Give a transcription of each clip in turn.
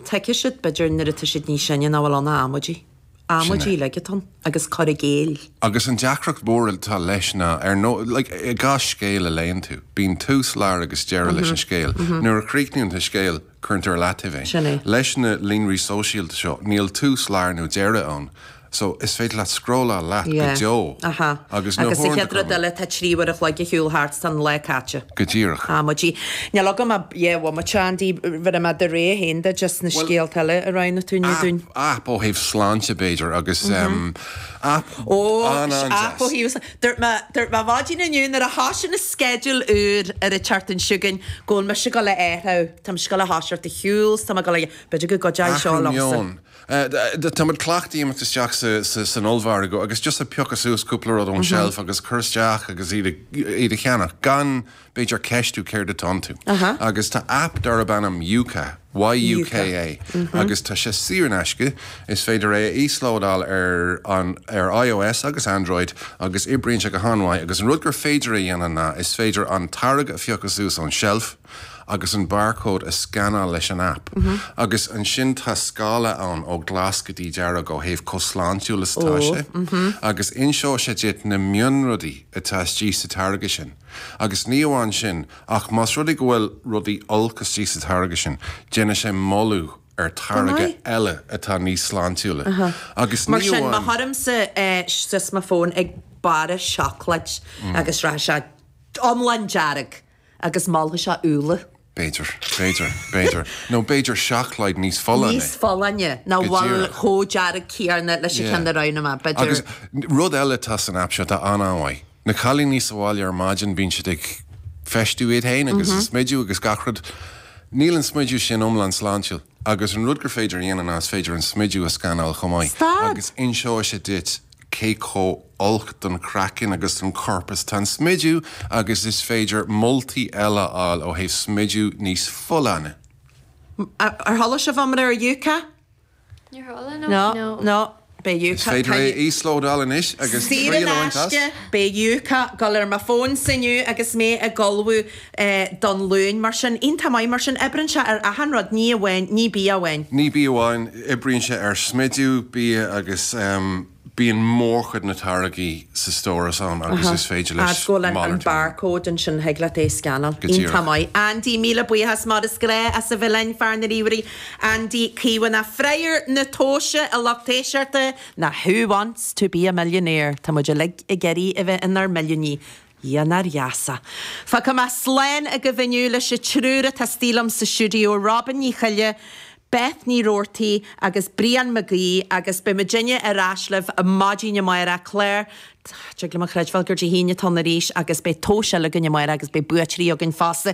Tuigfidh siad, b'fhéidir, nuair atá siad níos sine nach bhfuil ann ach amaidí. Amaidí uilig atá ann agus cur i gcéill. Agus an deacracht mhór atá leis ná, ar ndóigh, like, i gcás scéil a léann tú, bíonn tús, lár agus deireadh leis an scéal. Nuair a chríochnaíonn tú scéal, cuireann tú ar leataobh é. Sin é. Leis na líonraí sóisialta seo, níl tús, lár nó deireadh ann. So, is féidir leat scrolláil leat go Yeah. deo. Aha. Agus na Agus sa huaireanta chéad rud eile, tá 3 uair a chloig ar shiúl thart, tá an lá caite. Go díreach. Amaidí. Níl agam ach dhá bhomaite, Andy, bheir mé do rogha féin de just na Well, scéalta eile a roghnaigh tú inniu dúinn. app, app ó thaobh sláinte b'fhéidir agus em, app Ó, an-an-deas. app ó thaobh, dúirt mé, dúirt mé maidin inniu nuair a thoisigh an sceideal úr ar an tseachtain seo chugainn go bhfuil mise ag dul a athrú, tá mise ag dul a thoiseacht ag siúl, 's tá mé ag dul a, b'fhéidir go gcuideoidh seo Athrú liomsa. meoin. Tá muid cleachtaithe imeacht isteach san ollmhargadh agus just a piocadh suas cúpla rud ón tseilf agus cur isteach agus iad a cheannach gan b'fhéidir ceistiú céard atá iontu. Agus tá aip darb ainm Yuka, Y-U-K-A, agus tá sé saor in aisce, is féidir é a íoslódáil ar an ar iOS agus Android agus oibríonn sé go han-mhaith agus an rud gur féidir a dhéanamh ná is féidir an táirge a phiocadh suas ón tseilf, agus an barcode a scanáil leis an aip. Agus ansin tá scála ann ó ghlas go dtí dearg ó thaobh chomh sláintiúil is atá sé. Agus inseoidh sé duit na mionrudaí atá istigh sa táirge sin. Agus ní amháin sin, ach más rud é go bhfuil rudaí olc istigh sa táirge sin, déanfaidh sé moladh ar táirge eile atá níos sláintiúla. Agus Mar ní sin, má amháin. chuirimse suas mo fón ag barra seacláid agus rachaidh sé iomlán dearg. Agus molfaidh sé úlla. B'fhéidir, b'fhéidir, b'fhéidir. Nó b'fhéidir seacláid níos folláine. Níos folláine, nach Go bhfuil díreach. chomh dearg céanna leis an Yeah. cheann a roghnaigh mé, b'fhéidir. Agus rud eile atá san aip seo atá an-an-mhaith. Na cailíní sa bhaile ar maidin bíonn siad ag feistiú iad féin agus ag smidiú agus gach rud. Níl an smidiú sin iomlán sláintiúil. Agus an rud gur féidir a dhéanamh ná is féidir an smidiú a scanáil chomh maith. Stad! Agus inseoidh sé duit cé chomh olc don chraiceann agus don chorp is atá an smidiú agus is féidir moltaí eile a fháil ó thaobh smidiú níos folláine. Ar chuala sibh iomrá ar Yuka? Níor chuala, no. No, no. Beidh Is Yuka, féidir tá é a íoslódáil anois agus Saor triail in a bhaint as. aisce, beidh Yuka ag dul ar mo fónsa inniu agus mé ag ullmhú don Luan. Mar sin, iontach maith. Mar sin, oibreann sé ar achan rud, ní amháin, ní bia amháin. Ní bia amháin, oibríonn sé ar smidiú, bia agus bíonn mórchuid na táirgí sa stóras ann agus is féidir leis Agus go bhfuil an malartú. barcode ansin, thig leat é a scanáil. Go díreach. Iontach maith. Andy, míle buíochas mar is gnáth as a bheith linn, fear na ríomhairí. Andy Caomhánach, freagair na tomhaiste a lucht éisteachta ná Who Wants to be a Millionaire? Tá muid uilig ag iarraidh a bheith inár milliúnaí. Dhia nár gheasa. Fágfaidh mé slán agaibh inniu leis an triúr atá istigh liom sa stiúideo, Robin Ní Choille, Beth Ní Roarty agus Brian Mac Aoidh agus beidh muidinne ar ais libh maidin amárach. Clár, Tig liom a chreidbheáil gur Dé hAoine atá ann arís agus beidh tomhas eile againn amárach agus beidh buaiteoirí againn fosta.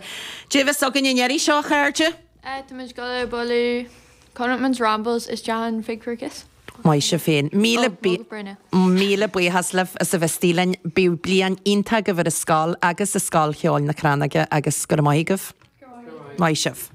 Cad é a bheas againn an iarraidh seo, a chairde? Tá muid ag dul ag bualadh Connachtman's Rambles isteach in Fig for a Kiss. Maith sibh féin. Míle Ó, Mullach Brúna. míle buíochas libh as a bheith istigh linn. Bíodh bliain iontach agaibh ar an scoil agus i Scoil Cheoil na Crannóige agus go raibh maith agaibh. Maith sibh.